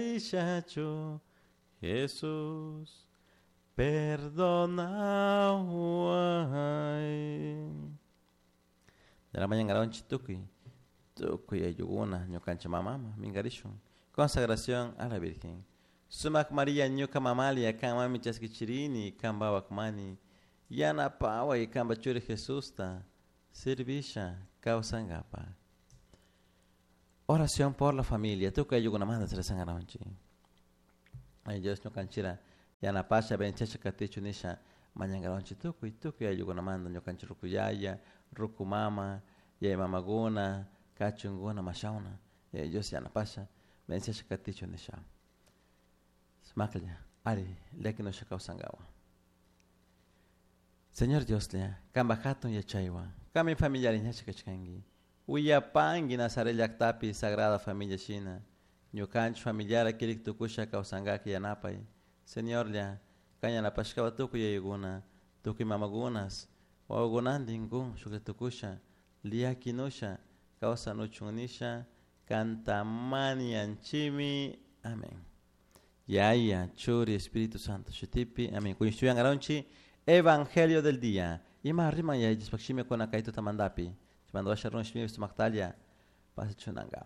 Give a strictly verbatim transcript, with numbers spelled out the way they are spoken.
Charishachu Jesus perdonaway. Mañangaronchi tukuy tukuy ayllukuna ñukanchik mamama minkarishun consagración a la Virgen. Sumak Maria ñuka mamalia kan mami chaskichirini kan mani yanapaway kanpa churi Jesusta servisha kawsankapa. Oración por la familia. Tukuy ayllukunamanta rezangaronchik. Ay Dios ñukanchira yanapasha venchasha katichu nisha mañangaronchik tukuy tukuy ayllukunamanta ñukanchik ruku yaya, ruku mama, yaya mamakuna, kachunkuna mashawna. Yaya Dios yanapasha venchasha katichu nisha. Sumaklla ari llakinusha kawsankawa. Señor Dioslla, kanpak hatun yachaywan, kanmi familiari ñacha kachkanki. Willapanki Nazaret llaktapi Sagrada Familia shina, ñukanchik familiara kirik tukusha kawsankaki yanapay. Señorlla, kan yanapashkawa tukuy yayakuna, tukuy mamakunas, wawakunantin kun shuklla tukusha, llakinusha kawsanuchun nisha, kanta mañanchimi. Amén. Yaya, Churi, Espíritu Santo, shutipi. Amén. Kuñishtuyangaronchi, Evangelio del día. Ima riman yaya Diospaj shimi kuna kay tutamantapi. Chaymanta washa runa shimipi sumaktalla pasachunanka.